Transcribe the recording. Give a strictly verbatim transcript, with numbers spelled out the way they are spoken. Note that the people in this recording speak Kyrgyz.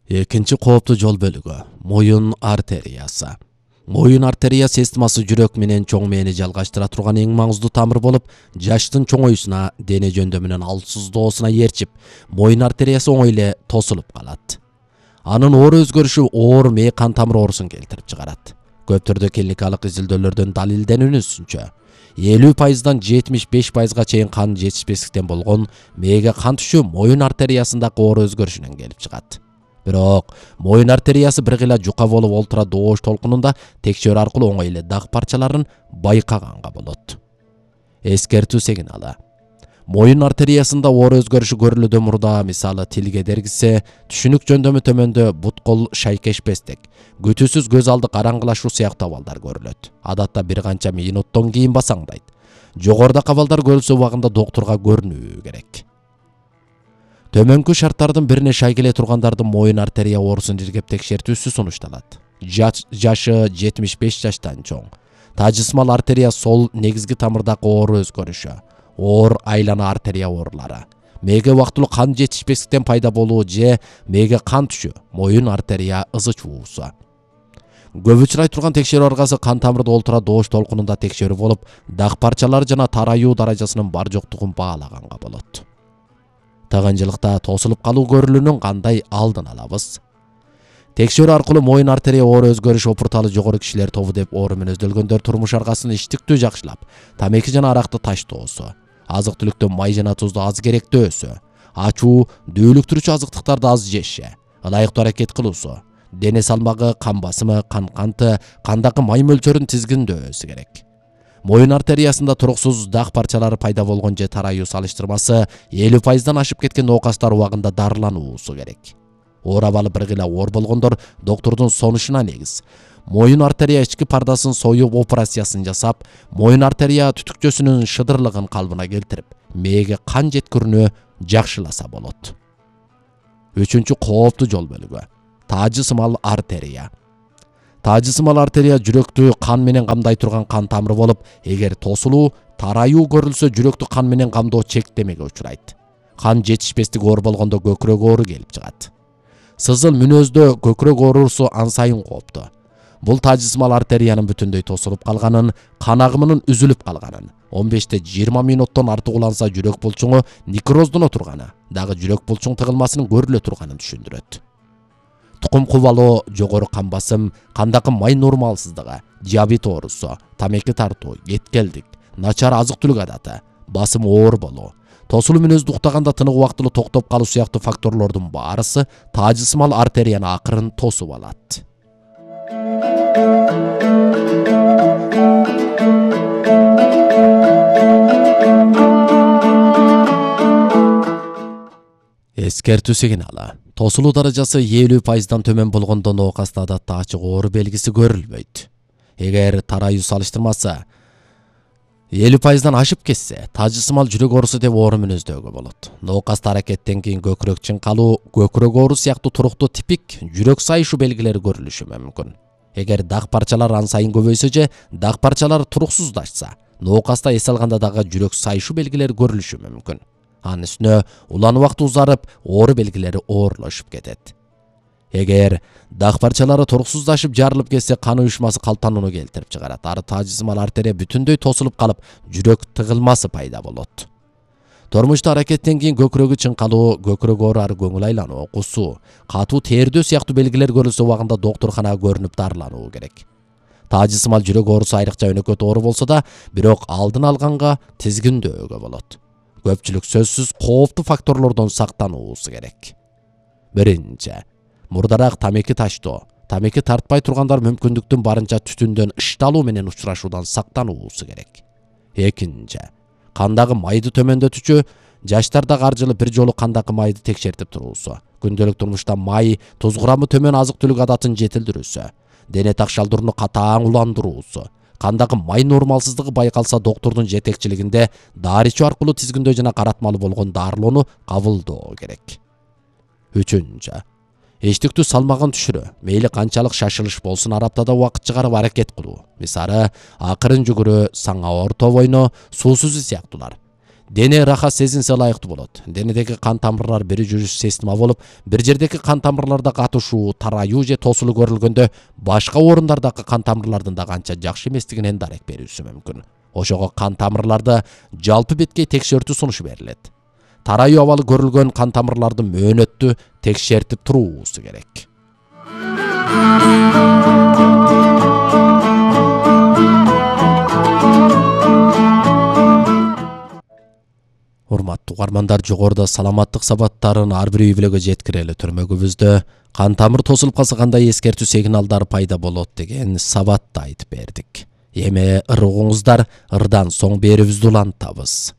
Экинчи кооптуу жол бөлүгү — моюн артериясы. Моюн артерия системасы жүрөк менен чоң мээни жалгаштыра турган эң маңыздуу тамыр болуп, жаштын чоңоюусуна, дене жөндөмүнүн алсыздоосуна ээрчип, моюн артериясы оңой эле тосулуп калат. Анын оор өзгөрүшү оор мээ кан тамыр оорусун келтирип чыгарат. Көп түрдө клиникалык изилдөөлөрдөн далилденүүнүнчө, элүү пайыздан жетимиш беш пайызга чейин кан жетишпестиктен болгон мээге кан түшүү моюн артериясындагы оор өзгөрүшүнөн келип чыгат. Бирок моюн артериясы бир гыйла жука болуп ультра доош толкунунда текшерүү аркылуу оңой эле даг парчаларын байкаганга болот. Эскертүү сигналы. Моюн артериясында оор өзгөрүшү көрүлүүдө мурда, мисалы тилге дергисе, түшүнүк жөндөмү төмөндө бут-кол шайкешпестик, күтүүсүз көз алды караңгылашуу сыяктуу абалдар көрүлөт. Адатта бир канча минуттон кийин басаңдайт. Жогорудагы абалдар көрүлсө убагында доктурга көрүнүү керек. Төмөнкү шарттардын бирине шай келе тургандардын моюн артерия оорусун иргеп текшертүүсү сунушталат. Жашы жетимиш беш жаштан чоң. Тажысмал артерия сол негизги тамырдагы оор өзгөрүшү, оор айлана артерия оорулары, мээге убактылуу кан жетишпестиктен пайда болуу же мээге кан түшүү, моюн артерия ызы чуусу. Көп учурай турган текшерүү аргасы кан тамырды ультра доош толкунунда текшерүү болуп, даг парчалары жана тараюу даражасынын бар жоктугун баалаганга болот. Тыгынчылыкта тосулуп калуу көрүлүүнүн кандай алдын алабыз? Текшерүү аркылуу моюн артерия оор өзгөрүш опурталы жогору кишилер тобу деп оору мүнөздөлгөндөр турмуш аргасын иштиктүү жакшылап, тамеки жана аракты таштоосу, азык-түлүктө май жана тузду аз керектөөсү, ачуу, дүүлүктүрүүчү азыктыктарды аз жеши, ылайыктуу аракет кылуусу, дене салмагы, кан басымы, кан канты, кандагы май мөлчөрүн тизгиндөөсү керек. Моюн артериясында туруксуз даг парчалары пайда болгон же тараюу салыштырмасы элүү пайыздан ашып кеткен ноокастар убагында дарылануусу керек. Оор абалы бир гыйла оор болгондор доктурдун сонушуна негиз моюн артерия ички пардасын союп операциясын жасап, моюн артерия түтүкчөсүнүн шыдырлыгын калыбына келтирип, мээге кан жеткирүүнү жакшыласа болот. Үчүнчү кооптуу жол бөлүгү — таажысымал артерия. Таажысымал артерия жүрөктү кан менен камдай турган кан тамыры болуп, эгер тосулуу, тараюу көрүлсө жүрөктү кан менен камдоо чектемеге учурайт. Кан жетишпестиги оор болгондо көкүрөк оору келип чыгат. Сызыл мүнөздө көкүрөк оорусу ан сайын кооптуу. Бул таажысымал артериянын бүтүндөй тосулуп калганын, кан агымынын үзүлүп калганын, он бештен жыйырма мүнөттөн артык уланса жүрөк булчуңу некроздоно турганы, дагы жүрөк булчуң тыгылмасынын көрүлө турганын түшүндүрөт. Тукум кубалоо, жогору кан басым, кандагы май нормалсыздыгы, диабет оорусу, тамеки тартуу, кеткелдик, начар азык-түлүк адаты, басым оор болуу, тосулуу мүнөздү уктаганда тынык убактылуу токтоп калуу сыяктуу факторлордун баарысы таажысымал артерияны акырын тосуп алат. Эскертүү сигналы. Тосулуу даражасы элүү пайыздан төмөн болгондо ноокаста адатта ачык оору белгиси көрүлбөйт. Эгер тараюу салыштырмасы элүү пайыздан ашып кетсе, таажысымал жүрөк оорусу деп оору мүнөздөгө болот. Ноокаста аракеттен кийин көкүрөк чыңкалуу, көкүрөк оору сыяктуу туруктуу типик жүрөк сайышуу белгилери көрүлүшү мүмкүн. Эгер даг парчалар ан сайын көбөйсө же даг парчалар туруксуздашса, ноокаста эс алганда дагы жүрөк сайышуу белгилери көрүлүшү мүмкүн. Анын үстүнө улан убакыт узарып, оору белгилери оорлошуп кетет. Эгер даг парчалары туруксуздашып жарылып кетсе, кан уюшмасы калтанууну келтирип чыгарат. Ары таажысымал артерия бүтүндөй тосулуп калып, жүрөк тыгылмасы пайда болот. Тормушта аракеттен кийин көкүрөгү чыңкалуу, көкүрөк оору, ары көңүл айлануу, кусуу, катуу тердөө сыяктуу белгилер көрүлсө убагында доктурканага көрүнүп дарылануу керек. Таажысымал жүрөк оорусу айрыкча өнөкөт оору болсо да, бирок алдын алганга тизгиндөөгө болот. Көпчүлүк сөзсүз кооптуу факторлордон сактануусу керек. Биринчи, мурдараак тамеки таштоо. Тамеки тартпай тургандар мүмкүндүктүн барынча түтүндөн ышталуу менен учурашуудан сактануусу керек. Экинчи, кандагы майды төмөндөтүүчү, жаштардагы ар жылы бир жолу кандагы майды текшертип туруусу, күндөлүк турмушта май, туз курамы төмөн азык-түлүк адатын жетилдирүүсү, дене так шалдырууну катаң уландыруусу, кандагы май нормалсыздыгы байкалса доктурдун жетекчилигинде дары ичүү аркылуу тизгиндөө жана каратмалуу болгон дарылоону кабылдоо керек. Үчүнчү, эчтиктүү салмагын түшүрүү, мейли канчалык шашылыш болсун ар аптада убакыт чыгарып аракет кылуу. Мисалы, акырын жүгүрүү, саңа орто бойно, суу сүзүү сыяктуулар. Дене рахат сезинсе ылайыктуу болот. Денедеги кан тамырлар бир жүрүш система болуп, бир жердеги кан тамырларда катышуу, тараюу же тосулуу көрүлгөндө, башка орундардагы кан тамырлардын да канча жакшы эместигинен дарек берүүсү мүмкүн. Ошого кан тамырларда жалпы беткей текшертүү сунушу берилет. Тараюу абалы көрүлгөн кан тамырларды мөөнөттүү текшертип туруусу керек. Урматтуу угармандар, жогоруда саламаттык сабаттарын ар бир үй бүлөгө жеткирели түрмөгүбүздө кан тамыр тосулуп калса кандай эскертүү сигналдары пайда болот деген сабатты айтып бердик. Эми ыр угуңуздар, ырдан соң берүүбүздү улантабыз.